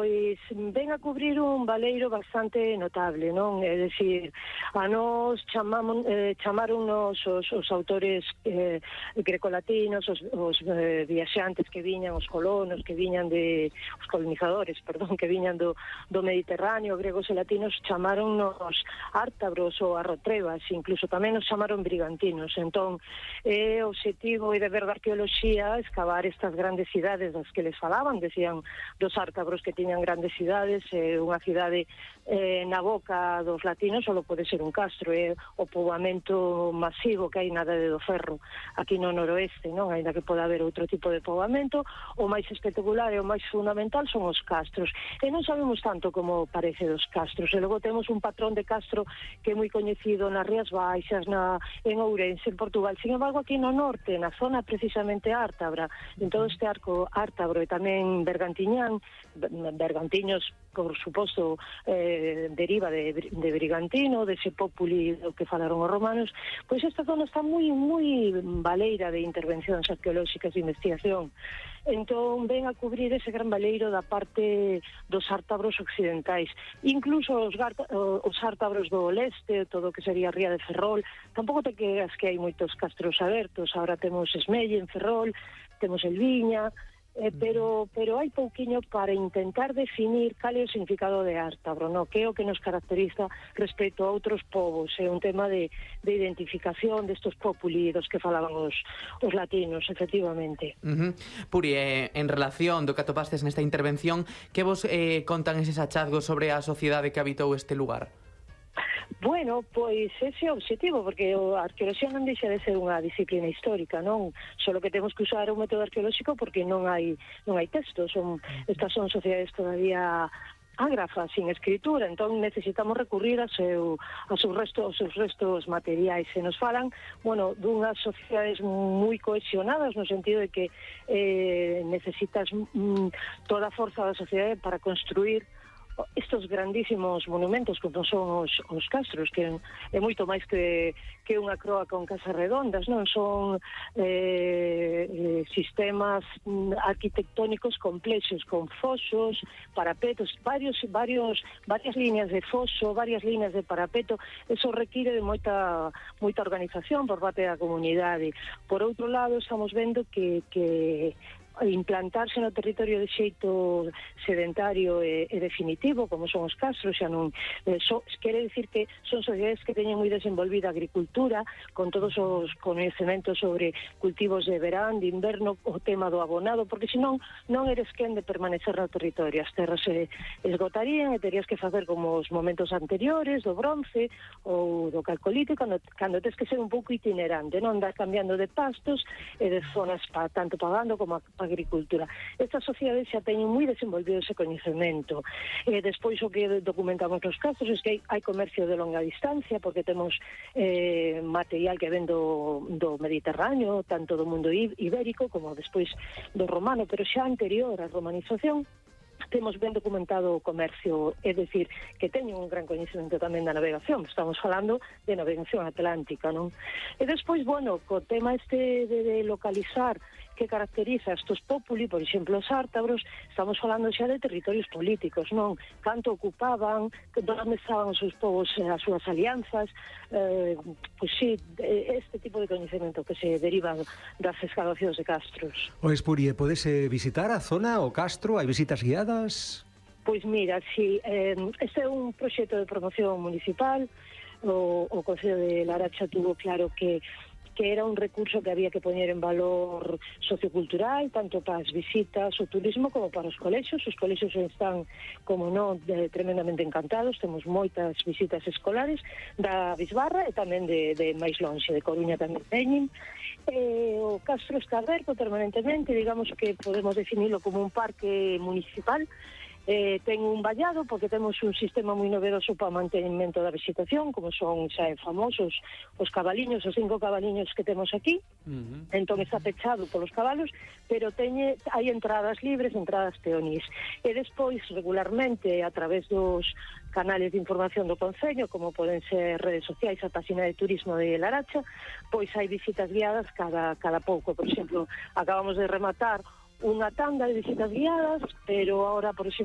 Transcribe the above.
Pois ven a cubrir un baleiro bastante notable, non? É dicir, a nos chamaronnos os autores grecolatinos, os viaxantes que viñan, os colonos que viñan os colonizadores, perdón, que viñan do Mediterráneo, gregos e latinos, chamaronnos ártabros ou arrotrebas, incluso tamén nos chamaron brigantinos. Entón, o obxectivo e deber da arqueoloxía escavar estas grandes cidades das que les falaban, decían dos ártabros que tiñan grandes cidades, unha cidade na boca dos latinos só pode ser un castro, o poboamento masivo que hai na Idade do Ferro aquí no noroeste, non? Ainda que poda haber outro tipo de poboamento, o máis espectacular e o máis fundamental son os castros, e non sabemos tanto como parece dos castros, e logo temos un patrón de castro que é moi coñecido nas Rías Baixas, en Ourense, en Portugal. Sin embargo, aquí no norte, na zona precisamente ártabra, en todo este arco ártabro e tamén bergantiñán, bergantiños, por suposto, deriva de brigantino, dese populi do que falaron os romanos. Pois esta zona está moi baleira de intervencións arqueolóxicas de investigación. Entón ven a cubrir ese gran baleiro da parte dos ártabros occidentais, incluso os ártabros do leste, todo o que sería a Ría de Ferrol. Tampouco te creas que hai moitos castros abertos. Ahora temos Esmelle en Ferrol, temos Elviña, pero hai pouquiño para intentar definir cal é o significado de ártabro, no? Que é o que nos caracteriza respecto a outros povos. É un tema de identificación destos populi dos que falaban os latinos, efectivamente. Puri, en relación do que atopastes nesta intervención, que vos contan eses hachazgos sobre a sociedade que habitou este lugar? Bueno, pois ese é o objetivo, porque a arqueoloxía non deixa de ser unha disciplina histórica, non? Solo que temos que usar un método arqueolóxico porque non hai textos, estas son sociedades todavía ágrafas, sin escritura, entón necesitamos recurrir aos seus restos materiais. Se nos falan, bueno, dunhas sociedades moi cohesionadas, no sentido de que necesitas toda a forza da sociedade para construir estos grandísimos monumentos como son os castros, que é moito máis que unha croa con casas redondas, non? Son sistemas arquitectónicos complexos, con fosos, parapetos, varias líneas de foso, varias líneas de parapeto. Eso require de moita organización por parte da comunidade. Por outro lado, estamos vendo que implantarse no territorio de xeito sedentario e definitivo, como son os castros, xa non quere dicir que son sociedades que teñen moi desenvolvida agricultura, con todos os coñecementos sobre cultivos de verán, de inverno, o tema do abonado, porque senón non eres quen de permanecer no territorio. As terras se esgotarían e terías que facer como os momentos anteriores, do bronce ou do calcolítico, cando tens que ser un pouco itinerante, non andar cambiando de pastos e de zonas tanto pagando como agricultura. Estas sociedades xa teñen moi desenvolvido ese coñecemento. Despois o que documentamos nos casos é que hai comercio de longa distancia, porque temos material que ven do Mediterráneo, tanto do mundo ibérico como despois do romano, pero xa anterior á romanización temos ben documentado o comercio, é dicir, que teñen un gran coñecemento tamén da navegación. Estamos falando de navegación atlántica, non? E despois, bueno, co tema de localizar que caracteriza estos populi, por exemplo, os ártabros, estamos falando xa de territorios políticos, non? Canto ocupaban, onde estaban os seus povos, as súas alianzas, pois sí, este tipo de coñecemento que se deriva das excavacións de castros. Ois, Puri, podes visitar a zona, o castro? Hai visitas guiadas? Pois mira, sí, este é un proxecto de promoción municipal. O Concello de Laracha tuvo claro que era un recurso que había que poñer en valor sociocultural, tanto para as visitas, o turismo, como para os colexios. Os colexios están, como non, tremendamente encantados. Temos moitas visitas escolares da Bisbarra e tamén de máis lonxe, de Coruña tamén teñen. O castro está aberto permanentemente, digamos que podemos definirlo como un parque municipal. Ten un vallado porque temos un sistema moi novedoso para o mantenimento da vegetación, como son xa famosos os cabaliños, os 5 cabaliños que temos aquí. Entón está pechado polos cabalos, pero hai entradas libres, entradas peonís. E despois, regularmente, a través dos canales de información do Concello, como poden ser redes sociais, a página de turismo de Laracha, pois hai visitas guiadas cada pouco. Por exemplo, acabamos de rematar unha tanda de visitas guiadas, pero ahora, por exemplo,